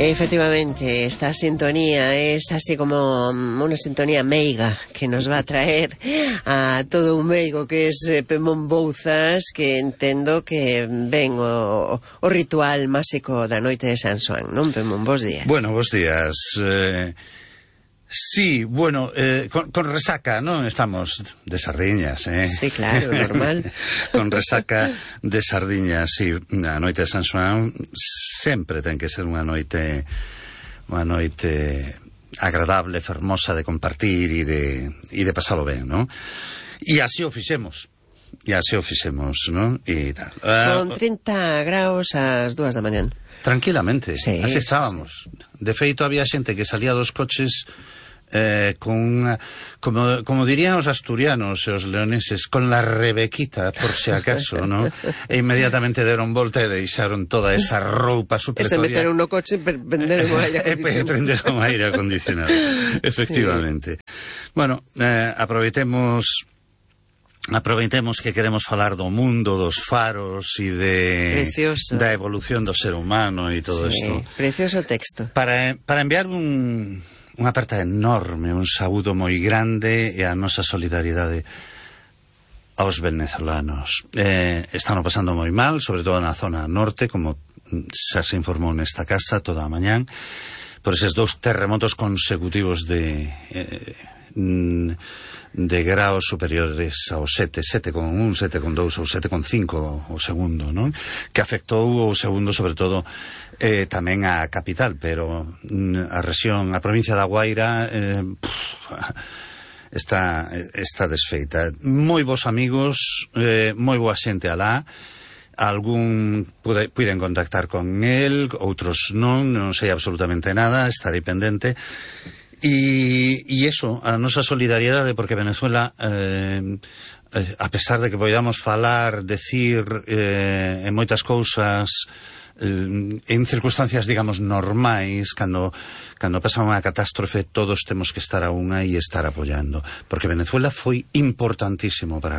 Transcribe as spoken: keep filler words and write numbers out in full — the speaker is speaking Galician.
Efectivamente, esta sintonía es así como una sintonía meiga que nos va a traer a todo un meigo que es eh, Pemón Bouzas, que entendo que ven o, o ritual máxico da noite de San Xoán, non, Pemón? Bos días. Bueno, bos días. Eh, sí, bueno, eh, con, con resaca, non? Estamos de sardiñas, eh? Sí, claro, normal. Con resaca de sardiñas, sí. A noite de San Xoán sempre ten que ser unha noite unha noite agradable, fermosa de compartir e de, e de pasalo ben, non? E así o fixemos. E así o fixemos, non? E tal. Con trinta graus ás dúas da mañán. Tranquilamente, sí, así estábamos. Sí, sí. De feito, había xente que salía dos coches eh, con unha, como, como dirían os asturianos e os leoneses, con la rebequita, por si acaso, ¿no? E inmediatamente deron volta e deixaron toda esa roupa supletoria. E se meteron no coche e prenderon o aire acondicionado. E prenderon o aire acondicionado, efectivamente. Sí. Bueno, eh, aproveitemos... Aproveitemos que queremos falar do mundo, dos faros e de precioso. Da evolución do ser humano e todo sí, isto. Precioso texto. Para, para enviar un, unha aperta enorme, un saúdo moi grande e a nosa solidaridade aos venezolanos. Eh, están pasando moi mal, sobre todo na zona norte, como xa se informou nesta casa toda a mañán, por eses dous terremotos consecutivos de... Eh, de graos superiores ao sete, sete con un, sete con dous ou sete con cinco o segundo, non? Que afectou o segundo sobre todo eh, tamén a capital, pero a rexión, a provincia da Guaira eh, pff, está, está desfeita. Moi bons amigos, eh, moi boa xente alá, algún pude, puiden contactar con el, outros non, non sei absolutamente nada, estarei pendente. E, e eso, a nosa solidariedade, porque Venezuela, eh, eh, a pesar de que podamos falar, decir eh, en moitas cousas, eh, en circunstancias, digamos, normais, cando, cando pasa unha catástrofe, todos temos que estar a unha e estar apoiando, porque Venezuela foi importantísimo para